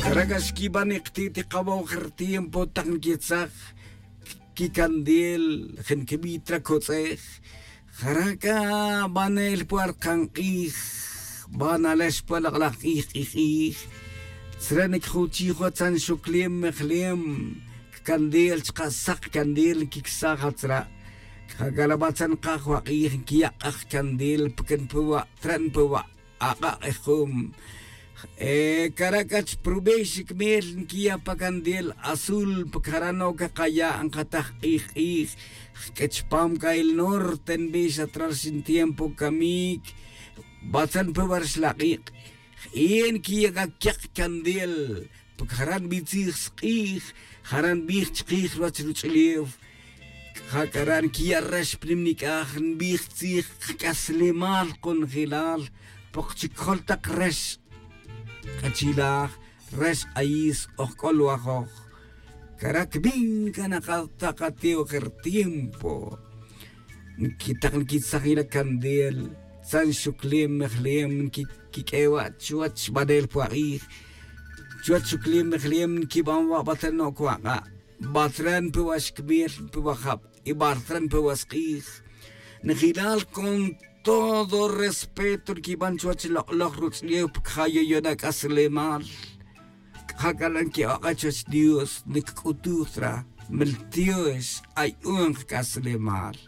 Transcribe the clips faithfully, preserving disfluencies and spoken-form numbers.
Jara' c'a xquiban i kati't i kawoj ri tiempo tak nquitzaj quicandil, je' nquibi' ta ri cotz'ej. Jara' c'a banel pue ri kank'ij, banalex pue lok'laj k'ij k'ij k'ij. Tzre' niquijuchi' jun atzan xuclem mejlem, candil chka' sak candil nquicsaj atzra'. C'a c'a la batzan kaj wak'ij nquiya' k'aj candil porque npue wa' tzre' npue wa' ak'a' k'ejum. Cara' c'a chprube' xicmel nquiya' pa candil azul porque jara' no cakaya' nkataj k'ij k'ij. Q'ue chpam c'a el norte nbix atzra' xin tiempo camic. Batzan npue wa' ri xlak'ik'. Jie' nquiya' c'a quek candil porque jara' nbitzij sk'ij, jara' nbij chkij ruwach ruch'ulew. C'a jac'ara' nquiya' rex pa nim nic'aj nbij tzij kac'aslemal konjelal. Pok chic jol tak rex k'achilaj, rex k'ayis ojc'olwajoj. Cara' cbin c'a nakatak ati ojer tiempo. Nquitak nquitzajila candel tzan xuclem mejlem nquiq'ue wa' chuwach banel puak'ij. Chuwach xuclem mejlem nquiban wa' batzre' no' cuak'a', batzre' npe wa' xcmel npe wa' jab y batzre' npe wa' sk'ij. Njelal con todo respeto nquiban chuwach lok'laj rutz'lew pcaja yoyona' c'aslemal. C'a jac'ala' nqui'ok'a' chuwech dios nicc'utuj ta ra. Meltiox ayu'un kac'aslemal.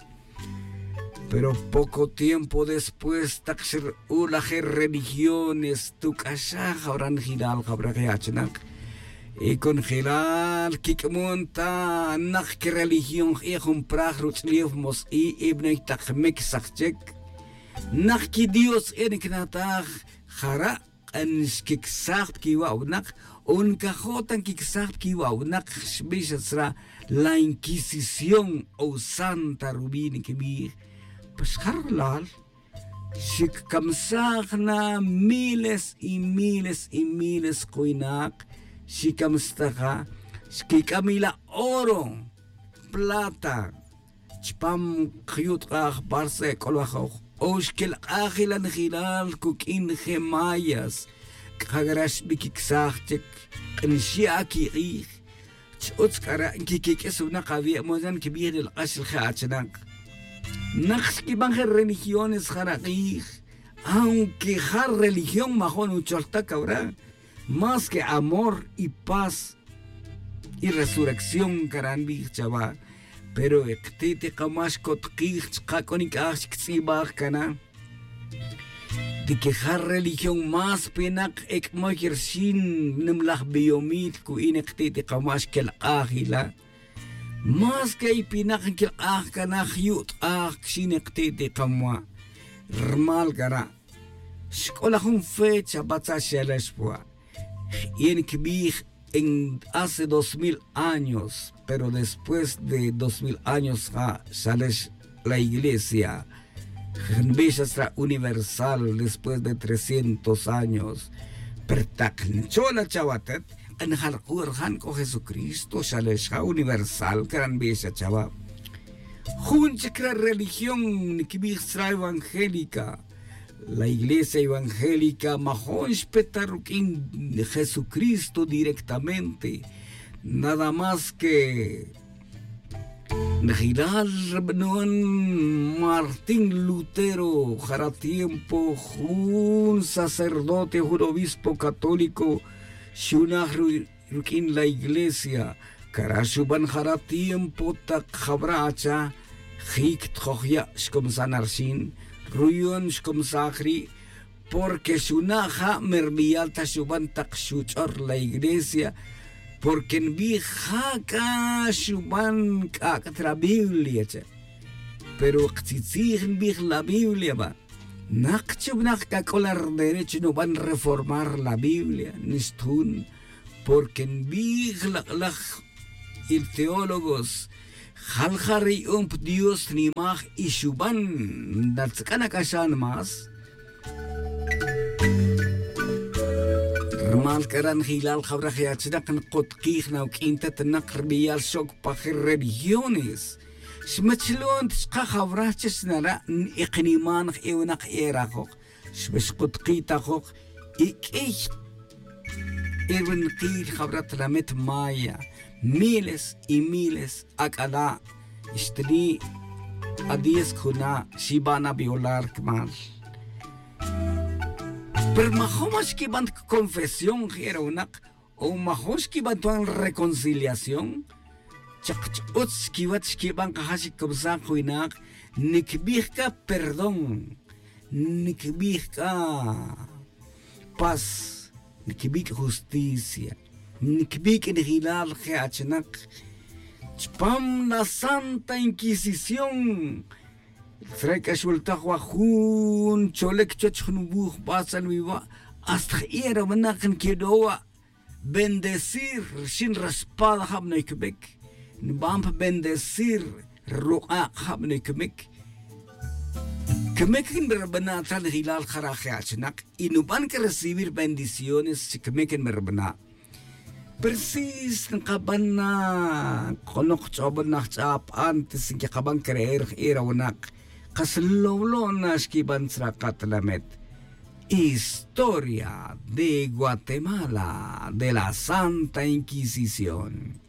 Pero poco tiempo después tak xru'ul aje religiones tuc'axaj jawra' njelal jawra' je achinak. Y conjelal quic'amon ta nak quireligión jie' jun praj rutz'lew mos i' y bney tak micsaj chic. Nak quidios e nicnataj jara' k'a nxquicsaj pa quiwa' winak o ncajo' ta nquicsaj pa quiwa' winak. Xbix atzra' la inquisición o santa rubi' niquibij. Pues jarlal xicamsaj na miles y miles y miles kuwinak. Xicamstaja xquic'am ila oro, plata chpam kjyu'tk'aj barce c'olwajoj o xquelk'aj ila njelal cuq'uin je mayas. C'a jac'ara' xbiquicsaj chic k'a nxya' aquik'ij. Ch'utz c'ara' nquiquiq'uis winak awi' mos ya nquibij ri lok'ax ri je achinak. Nak xquiban je religiones jara' k'ij aunque ja religión majo' nuchol ta cawra'. Más que amor y paz y resurrección cara' nbij chawa. Pero e kati't i kama' xcotkij chka' c'o nic'aj chic tz'ibaj cana. Ti que ja religión más pinak ec'moy rxin nimlaj biyomil cu'in e kati't i kama' xquelk'aj ila. Más que i pinak nquilk'aj cana jyu'tk'aj cxin e kati't i kama'. Rmal cara' xc'ola jun fecha batza' xyalex pua'. Jie' nquibij en hace dos mil años pero después de dos mil años ja xalex la iglesia. Nbix atzra' universal después de trescientos años. Pero tak nchola chawa atet k'a njalku' rjan c'o jesucristo xalex ja universal cara' nbix achawa. Jun chic re religión niquibij tzra' evangélica. La iglesia evangélica majon xpe ta ruq'uin jesucristo directamente. Nada más que njelal rbanon martín lutero jara' tiempo jun sacerdote jun obispo católico xunaj ruq'uin la iglesia. Cara' xuban jara' tiempo tak jawra' acha jic tjoj ya' xcomsa na rxin ruyon xcomsaj ri'. Porque xuna' ja' merbiyal ta xuban tak xuch'or la iglesia. Porque nbij ja' c'a xuban c'ac'a ta ra biblia che. Pero ktzitzij nbij la biblia ba. Nak chibnak c'a c'o la rderecho nuban reformar la biblia nixta jun. Porque nbij lak'laj y teólogos jalja' re yu'un pa dios nimaj y xuban. Ndatzac'a' nac'axan más. Rmal c'a ra' njelal jawra' je achinak nkutkij na uq'uin tetanak rbiyal xoc pa je religiones. Xmachlon ta chka' jawra' che xnara' n-ikniman je winak e rajoj. Xbe xkutkitajoj y q'uiy. Irwinakil jawra' tlamet maya, miles y miles ac'ala' xteli' adiez cuna' xiban aviolar cmal. Pero majun ma xquiban ta confesión je' ra winak, o majun xquiban tuan reconciliación. Chak ch'utz chiquiwech xquiban kaja' xicubsaj kawinak. Niquibij c'a perdón, niquibij c'a pas, niquibij c'a justicia, niquibij c'a nijilal je' achinak. Chupam la santa inquisición, tzre' c'a xweltaj wa jun cholec chuwech jun wuj batzal wi wa', hasta je' ra winak niquedo' wa' bendecir rxin re espada jab noy camic. Niban pa bendecir ruk'ak' jab noy camic. Camic nbarbana' ta nijilal jara' je' achinak, y nuban c'a recibir bendiciones chi camic nbarbana'. Pero si nkaban na, konok ch'obon na jch'ab antes nquikaban creer je' ra winak, kas lolo' na xquiban tzra katlamet. Historia de Guatemala de la Santa Inquisición.